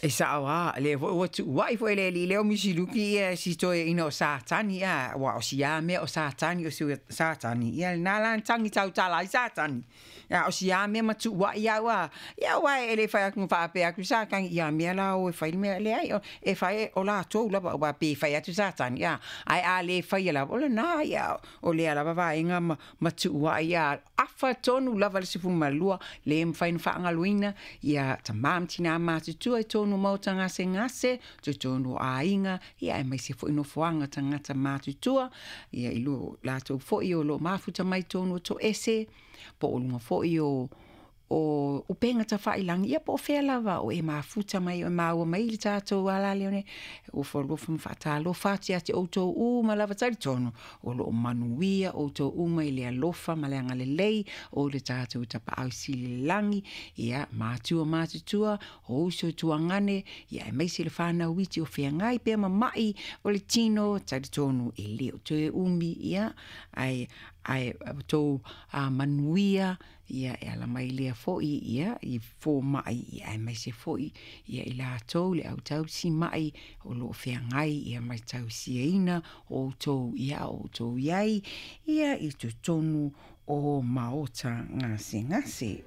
E sa'o a lea foi ua tu'ua'i foi e le alii lea o Misiluki ia si toeaina o Satani a uā o si a mea o Satani o Satani ia lena la na tagi tautala ai Satani a o si a mea ma tu'ua'i au a ia uae e le fai atu ma faapea atu Satani ia mea la o e fai le mea leai e fai o latou lava uā pe fai atu Satani a ae a le faia lava o lena ia o lea lava vaega ma tu'ua'i a afa tonu lava le 12 le mafai ona faagaloina ia tamā ma tinā matutua i tonu o maota gasegase totonu o aiga ia aemaise foi nofoaga tagata matutua ia i lo latou foi o loo mafuta mai tonu o toese po o luga foi o upega tafailagi ia po o fea lava o e mafuta mai o maua mai le tatou ala lea e ofo alofa ma faatalofa atu ia te outou uma lava. Talitonu o loo manuia outou uma i le alofa ma le agalelei o le tatou Tapaau Sili i le lagi. Ia matua matutua o uso tuagane ia aemaise le fanau iti o feagai pea ma mai o le tino. Talitonu e le o toe umi ia ae tou manuia ia e ala mai lea foi ia i fomai ia aemaise foi ia i latou le autausi mai o loo feagai ia mai tausiaina outou ia outou iai ia i totonu o maota gasegase.